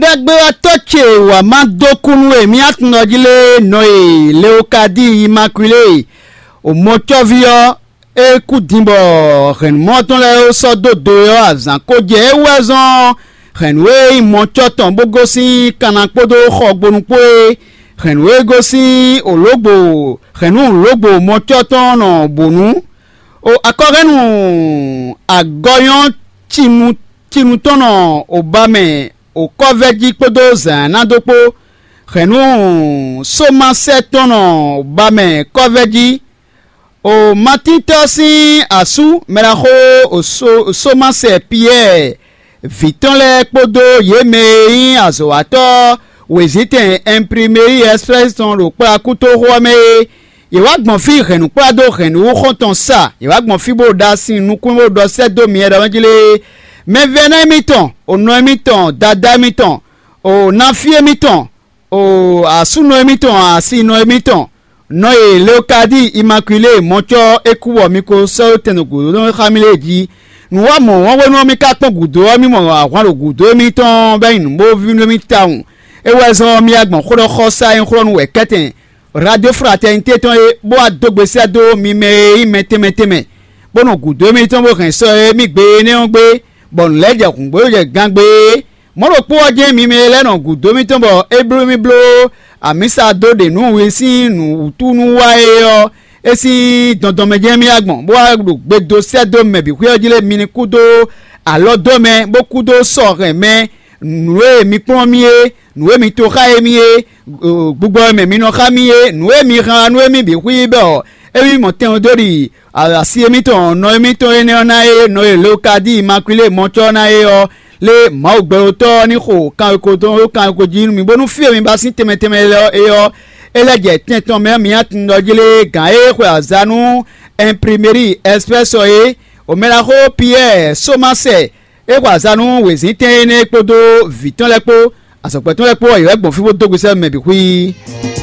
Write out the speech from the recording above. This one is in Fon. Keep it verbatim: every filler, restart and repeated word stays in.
Ɖagbe ɔ́ tɔ́ ce wǎ má dó kú nú e mì aklúnɔ jí lé nɔ e Leokadíi Imakwilée, o mɔcɔ́ví ɔ́, é kú din bɔ hɛ̌nnumɔ tɔn lɛ́ɛ sɔ́ dó do é ɔ́, azǎn ko jɛ é wú wɛ zɔ́n hɛ̌nnu e nyí mɔcɔ́ tɔn bó gosín kanna kpódó xɔgbonu kpó é, hɛ̌nnu e gosín olǒgbo hɛ̌nnu lǒgbo mɔcɔ́ tɔn nɔ bǒ nú. O akɔhɛ́nnu agɔnyɔ́ cinu cinu tɔn nɔ o ba mɛ o kɔ́vɛ́ jí kpódó zǎn ná dó kpó. Hɛ̌nnu sómasɛ tɔn nɔ ba mɛ kɔ́vɛ́ jí. O Matíntɔ́ sín asú mɛɖaxó o sómasɛ Piyɛ́ɛ vǐ tɔn lɛ́ɛ kpódó yě mɛ e nyí azɔ̌watɔ́ wězítɛn Ɛnplimeri Ɛsplɛ́si tɔn ɖo kplá kútóxó ɔ́ mɛ é. Yě wá gbɔn fí hɛ̌nnukplá dó hɛ̌nnu xɔ́ntɔn sa; yě wá gbɔn fí bó ɖo sin nukún bó ɖɔ sɛ́ dó myɛ ɖɔ mɛ jí lé. Mɛvɛ́ná émítɔn, o nɔ émítɔn, dadá émítɔn, o náfí émítɔn, o asúnɔ émítɔn, asinɔ émítɔn, nɔ e Leokadíi Imakwilée mɔcɔ́ é kú bɔ mi ko sɔ́ dó tɛn ɖo gǔdo tɔn xá mì lée jí. Nǔ wa mɔ̌ wɔ́n hwenu ɔ́, mi ka kpɔ́n gǔdo ɔ́, mi mɔ ahwan ɖo gǔdo émítɔn bɔ é nyí nǔbóví nú émí tawun. É wɛ zɔ́n ɔ́, mi wá gbɔn xó ɖɔ xɔsá e nyí xó ɖɔ nú wɛ̌kɛ́tɛn Radio Fraternité tɔn é, bó wá dó gbe sɛ́ dó mi mɛ e nyí mɛ tɛnmɛ tɛnmɛ, bó nɔ gǔdo émítɔn bó hɛn sɔ e mì gbe énɛ́ ɔ́ gbé, bɔ nǔ lɛ́ɛ jɛ hǔngbó jɛ gangbe é. Mɔ̌ ɖokpó ɔ́ jɛ́n mi mɛ e lɛ́ nɔ gǔdo émítɔn bɔ é bló mì bló amǐsa dó ɖe nǔ wi sín nǔ wútu nú wa é ɔ́, é sín dɔndɔn mɛ jɛ́n mì wá gbɔn, bó wá ɖo gbe dó sɛ́ dó mɛ bǐ xwé ɔ́ jí lé mi ní kú dó alɔ dó mɛ, bó kú dó sɔ hɛn mɛ, nǔ e mi kplɔ́n mì é, nǔ e mi to xá émí é, gbigbɔ e mɛ mi nɔ xá mì é, nǔ e mi hɛn wá nú émí bǐ xwí bɔ émí mɔ tɛn dó ɖi asi émítɔn nɔ émítɔn énɛ́ ɔ́ ná é, nɔ e Leokadíi Makwilée mɔcɔ́ ná é ɔ́, lé Mawu gbɛɖotɔ́ ɔ́ ní xo kanweko tɔn ɖó kanweko jí nú mi, bónú fí e mi ba sín tɛnmɛ tɛnmɛ lɛ́ɛ ɔ́ é ɔ́, é lɛ́ jɛ tɛn tɔn mɛ ɔ́ mi ná tunwun ɖɔ jí lé gǎn e xwe azǎn nú Ɛnplimeri Ɛsplɛ́sɔ é, Omɛlaxó Piyɛ́ɛ Somasɛ é xwe azǎn nú wězíntɛn énɛ́ kpódó vǐ tɔn lɛ́ɛ kpó, azɔ̌gbɛ́ tɔn lɛ́ɛ kpó ɔ́, yě wɛ gbɔn fí bó dó gbe sɛ́ mɛ bǐ xwí.